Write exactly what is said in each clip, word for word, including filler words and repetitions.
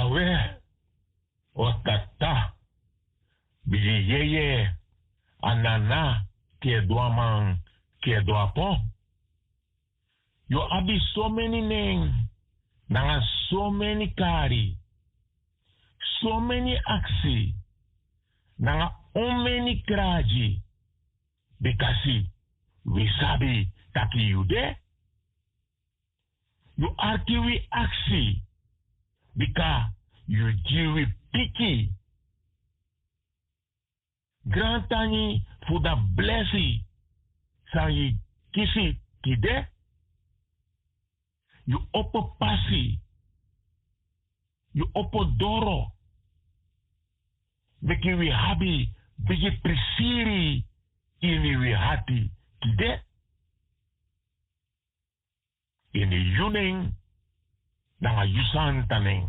We, o tata, bigi yeye, a nana, kedu a man, kedu a pon. Yu abi someni nen nanga someni kari, someni aksi nanga omeni kragi. Bikasi wi sabi taki yu de. Yu arki wi aksi, bika yu gi wi piki. Grantangi fu dan blesi san yu kisi tide. Yu opo pasi, yu opo doro, meki wi abi bigi prisiri ini wi hati tide. Ini yu nen nanga yu santa nen.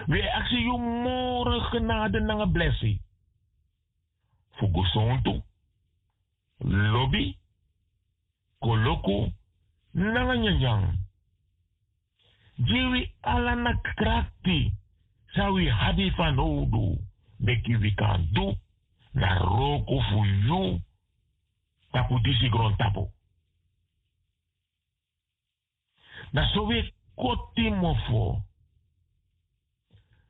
Wi e aksi yu moro genade nanga blesi fu gesontu, lobi, koloku nanga nyanyan. Gi wi ala na krakti san wi abi fanowdu, meki wi kan du na wroko fu yu tapu disi grontapu. Na so wi e koti mofo.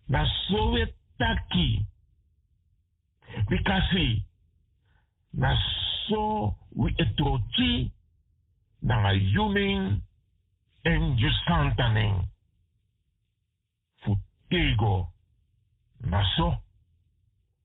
Na so wi e taki. Bikasi na so wi e troki nanga yu nen èn yu santa nen. Fu tego na so.